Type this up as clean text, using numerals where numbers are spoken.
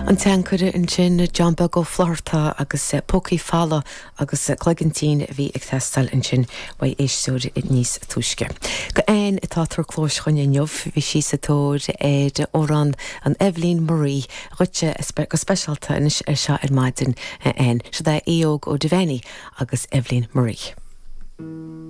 An tSeanchaire ansin, John Beag Ó Flaithearta agus Pócaí Folamh agus Cloigeann Tinn a bhí ag teastáil ansin uaidh éisteoir níos túisce. Do Ann atá ag tabhairt cluais chugainn inniu, bhí sí sa tóir ar amhrán an Eibhlín Marie dhuitse go speisialta anois ar seo ar maidin, a Ann. Siod é Aodh Óg Ó Duibheannaigh agus Eibhlín Marie.